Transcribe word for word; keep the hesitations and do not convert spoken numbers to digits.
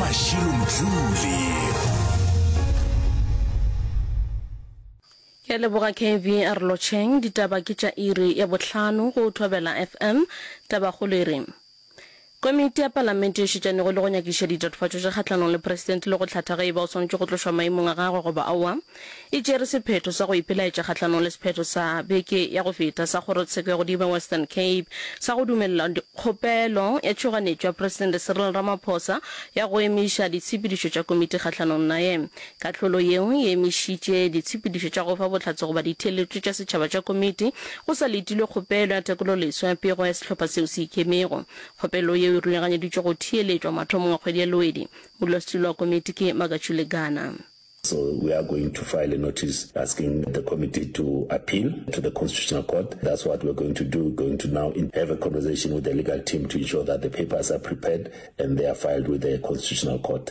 Mashilo Mdluli. Ke a leboga K V a re lotšheng. Ditaba ke tša iri ya bohlano go Thobela F M. Tabakgolo e re, Komiti ya Palamente e šetšanego le go nyakišiša ditatofatšo tša kgahlanong le Presidente le go hlatha ge e ba o swanetše go tlošwa maemong a gagwe goba aowa, e tšere sephetho sa go ipelaetša kgahlanong le sephetho sa beke ya go feta sa Kgorotsheko ya Godimo ya Western Cape sa go dumelela kgopelo ya tšhoganetšo ya Presidente Cyril Ramaphosa ya go emiša ditshepedišo tša komiti kgahlanong naye. Kahlolo yeo e emišitše ditshepedišo tša go fa bohlatse goba ditheeletšo tša setšhaba tša komiti go sa letilwe kgopelo ya tekololeswa ya pego ya sehlopha seo se ikemego. Kgopelo yeo e rulaganyeditšwe go theeletšwa mathomong a kgwedi ya Lwedi. Modulasetulo wa komiti ke Makachule Gana. So we are going to file a notice asking the committee to appeal to the Constitutional Court. That's what we're going to do. We're going to now have a conversation with the legal team to ensure that the papers are prepared and they are filed with the Constitutional Court.